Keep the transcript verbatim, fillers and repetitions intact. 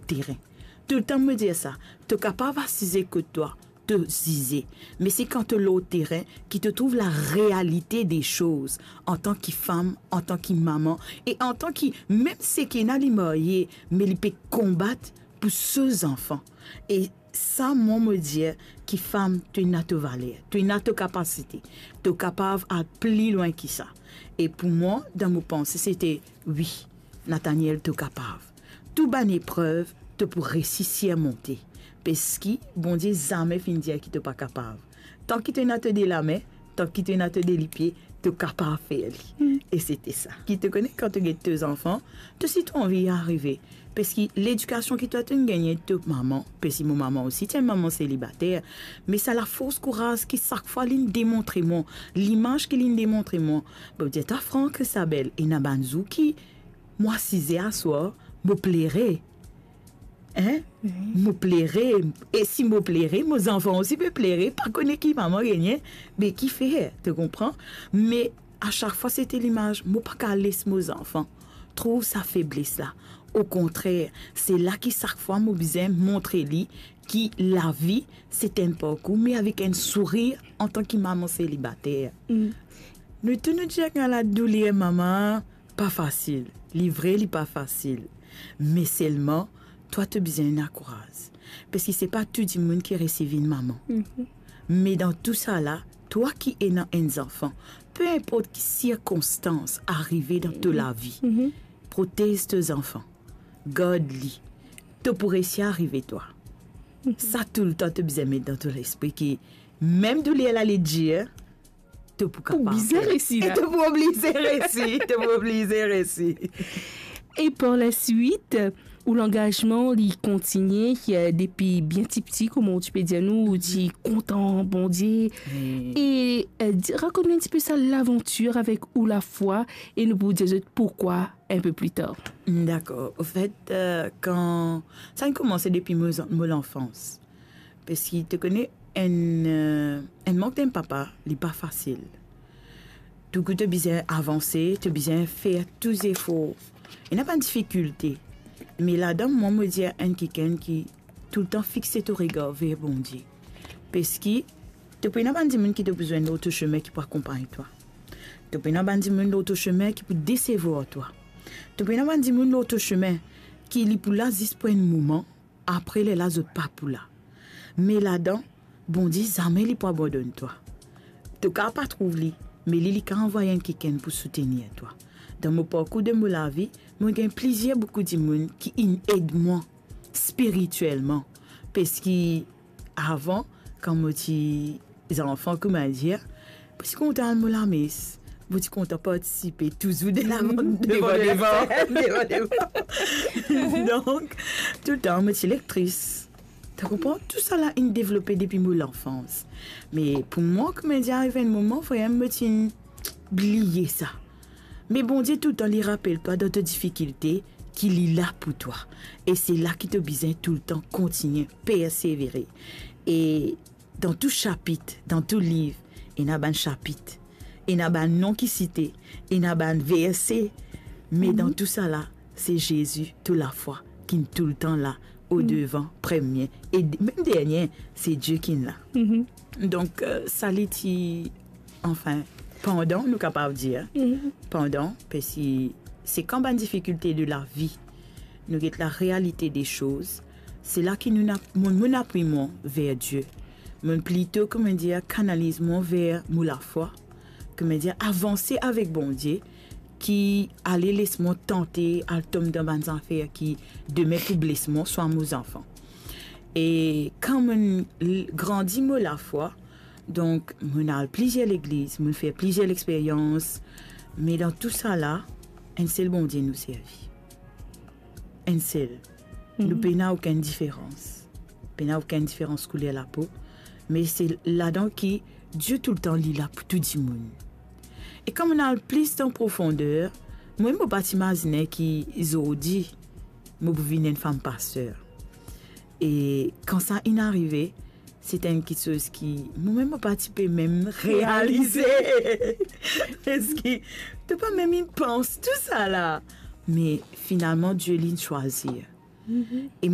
terin. Toultan mo dir sa, to kapav asize kot twa, to zize. Me se kan to lor terin ki to trouv larealite de soz, antan ki fam, antan ki mama, e antan ki mem seki ena li marye, me li pe konbat pou so zanfan. E sa, mwa, mo dir ki fam, to ena to valer, to ena to kapasite, to kapav al pli lwin ki sa. E pou mwa, dan mo panse, sete, wi, Nathaniel, to kapav. Tou bann eprev, to pou resi sirmonte. Parski Bondie zame finn dir ki to pa kapav. Tan ki to ena to de lame, tan ki to ena to de lipie, to kapav fer li. Hmm. E sete sa. Ki to kone, kan to get to zanfan, to si to anvi arive. Parski ledikasion ki twa to'nn gagne to mama, parski mo mama osi ti enn mama selibater, me sa lafors kouraz ki sak fwa li'nn demontre mwa, limaz ki li'nn demontre mwa, mo dir twa fran, Christabel, ena bann zour ki mo asize aswar, mo plere. Hein? Wi. Mo plere. E si mo plere, mo zanfan osi pe plere, pa kone ki mama gagne, be kifer, to konpran? Me a sak fwa sete limaz, mo pa kav les mo zanfan trouv sa febles la. Okontrer, se la ki sak fwa mo bizin montre li ki lavi, se enn parkour, me avek enn sourir antan ki mama selibater. Mm. Nou tou nou dir ki ena ladouler mama, pa fasil. Li vre, li pa fasil. Me selman, twa to bizin ena kouraz. Parski se pa tou dimoun ki resi vinn mama. Mhm. Me dan tou sa la, twa ki ena enn zanfan, pe inport ki sirkonstans arive dan to lavi, mhm, protez to zanfan. Gard li. To pou resi arive twa. Mhm. Sa toultan to bizin met dan to lespri ki mem douler la li dir, to pou kapav fer. Pou bizin resi la. E to pou oblize resi, to pou oblize resi. E par laswit, ou langazman, li kontinie, eh, depi bien tipti, kouma ou ti pe dir nou, ou ti kontan Bondie. Wi. E, eh, di, rakont nou enn tipe sa lavantir avek ou lafwa, e nou pou dir zot poukwa enn pe pli tar. Dakor. Anfet, eh, kan, sa inn koumanse depi mo, mo lanfans. Parski to kone enn, eh, enn mank enn papa, li pa fasil. Touzour to bizin avanse, to bizin fer tou zefor. Ena bann difikilte. Me ladan, mwa, mo dir enn kikenn ki toultan fixe to regar ver Bondie. Parski to pou ena bann dimoun ki to pou zwenn lor to sime ki pou akonpagn twa. To pou ena bann dimoun lor to sime ki pou desevwar twa. To pou ena bann dimoun lor to sime ki li pou la zis pou enn moman, apre lerla zot pa pou la. Me ladan, Bondie zame li pou abandonn twa. To kav pa trouv li, me li, li kav anvway enn kikenn pou soutenir twa. Dan mo parkour de mo lavi, mo gagn plizier boukou dimoun ki inn ed mwa spiritielman. Parski avan, kan mo ti zanfan, kouma dir, mo ti kontan al mo lames, mo ti kontan partisipe touzour de la, devan, devan, devan. Donk, toultan mo ti lektris. To konpran? Tou sa la inn devlope depi mo lanfans. Me pou mwa, kouma dir, arive enn moman, vremem, mo ti bliye sa. Me Bondie toultan li rapel twa dan to difikilte ki li la pou twa. E se la ki to bizin toultan kontinie persevere. E dan tou sapit, dan tou liv, ena bann sapit, ena bann non ki site, ena bann verse, me dan tou sa la, se Zezi, to lafwa, ki'nn toultan la, o devan, premie, e d-, mem dernie, se Die ki'nn la. Mhm. Donk, eh, sa li ti, anfin, pandan, nou kapav dir, mhm, pandan, parski se kan bann difikilte de lavi, nou get larealite de soz, se la ki nou na-, mo, mo apwi mwa ver Die. Mo plito, kouma dir, kanaliz mwa ver mo lafwa, kouma dir, avanse avek Bondie, ki ale les mwa tante, al tom dan bann zafer ki demin pou bles mwa, swa mo zanfan. E kan mo'nn l-, grandi mo lafwa, donk, mo'nn al plizier legliz, mo'nn fer plizier lexperyans, me dan tou sa la, enn sel Bondie nou servi. Enn sel. Nou pena okenn diferans. Pena okenn diferans kouler lapo. Me se ladan ki Die toultan li la pou tou dimoun. E kan mo'nn al plis dan profonder, mwa, mo pa ti imazine ki zordi mo pou vinn enn fam paster. E kan sa inn arive, se ti enn kiksoz ki momem mo pa ti pe mem realize. Realize. Parski to pa mem inn pans tou sa la. Me finalman, Die li'nn swazir. Mhm. E